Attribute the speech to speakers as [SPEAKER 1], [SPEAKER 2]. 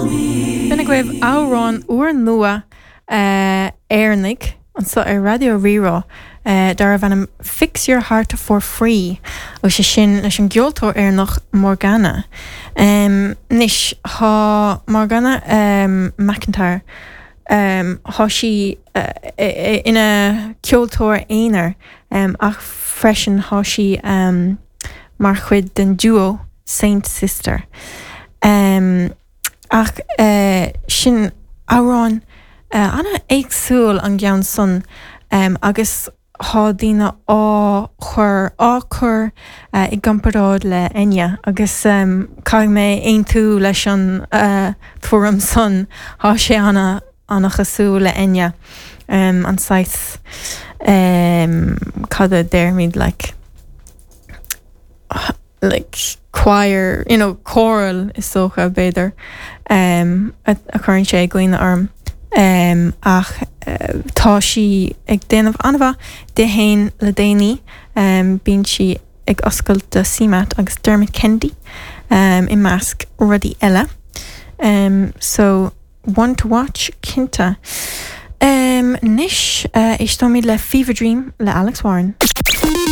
[SPEAKER 1] B'in agaibh amhrán úrnua Éireannaigh anseo ar Raidió Rí-Rá darbh ainm Fix Your Heart For Free agus sé sin leis an gceoltóir Éireannach Morgana. Anois tá Morgana McIntyre, tá sí ina ceoltóir aonair ach freisin tá sí mar chuid den duo Saint Sister. Ach sin amhrán an-éagsúil an gceann san agus thá daoine á chur á cur i gcomparáid le Enya agus caithfidh mé aontú leis an tuairim san, thá sé ana ana-chosúil le Enya, an saghas cad a déarfaimid like. like choir, you know, choral is dócha, b'fhéidir, a chuireann sé i gcuimhne orm. Ach tá sí ag déanamh an-mhaith di fhéin le déanaí, bíonn sí ag oscailt do CMAT agus Dermot Kennedy i measc rudaí eile. So, one to watch, cinnte. Anois, éisteoimid le Fever Dream le Alex Warren.